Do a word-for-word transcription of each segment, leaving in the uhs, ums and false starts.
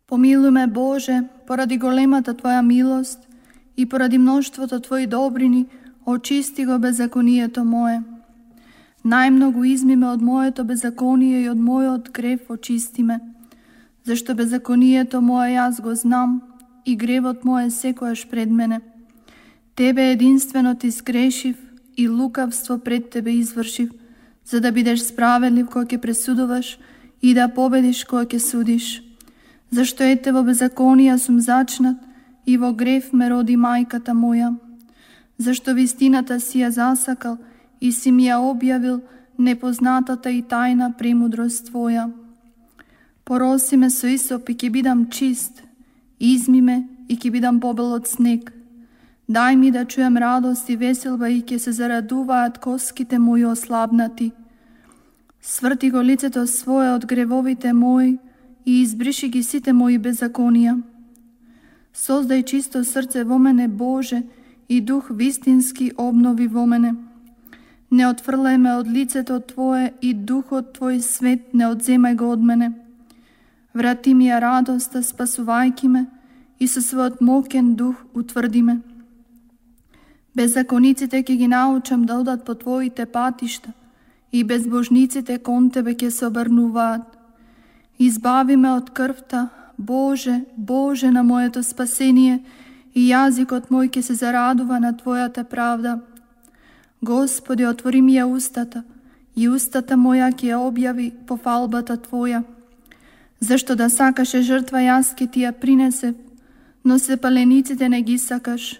Помилуј ме, Боже, поради големата Твоја милост и поради мноштвото Твои добрини, очисти го беззаконието мое. Најмногу изми ме од моето беззаконие и од мојот грев очисти ме, зашто беззаконието мое јас го знам и гревот мој секојаш пред мене. Тебе единствено ти сгрешив и лукавство пред Тебе извршив, за да бидеш справедлив кога ќе пресудуваш и да победиш кога ќе судиш. Зашто ете во беззаконија сум зачнат и во грев ме роди мајката моја. Зашто вистината си ја засакал и си ми ја објавил непознатата и тајна премудрост Твоја. Пороси ме со исоп и ќе бидам чист, изми ме и ќе бидам побел од снег. Дај ми да чујам радост и веселба и ќе се зарадуваат коските мои ослабнати. Сврти го лицето свое од гревовите мои и избриши ги сите мои беззаконија. Создај чисто срце во мене, Боже, и дух вистински обнови во мене. Не отфрлај ме од лицето Твое и духот Твој свет не одземај го од мене. Врати ми ја радоста, спасувајки ме, и со својот мокен дух утврди ме. Беззакониците ќе ги научам да одат по Твоите патишта и безбожниците кон Тебе ќе се обрнуваат. Избави ме од крвта, Боже, Боже на моето спасение, и јазикот мој ќе се зарадува на Твојата правда. Господи, отвори ми ја устата, и устата моја ќе ја објави пофалбата Твоја. Зашто да сакаше жртва, јас ќе Ти ја принесев, но се палениците не ги сакаш.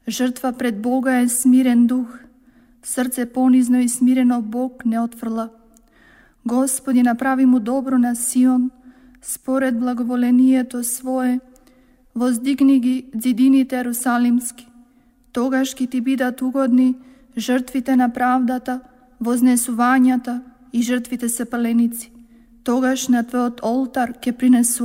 Жртва пред Бога е смирен дух, срце понизно и смирено Бог не отфрла. Господи, направи му добро на Сион, според благоволението Свое, воздигни ги ѕидините ерусалимски. Тогаш ќе Ти бидат угодни жртвите на правдата, вознесувањата и жртвите сепаленици. Тогаш на Твојот олтар ќе принесу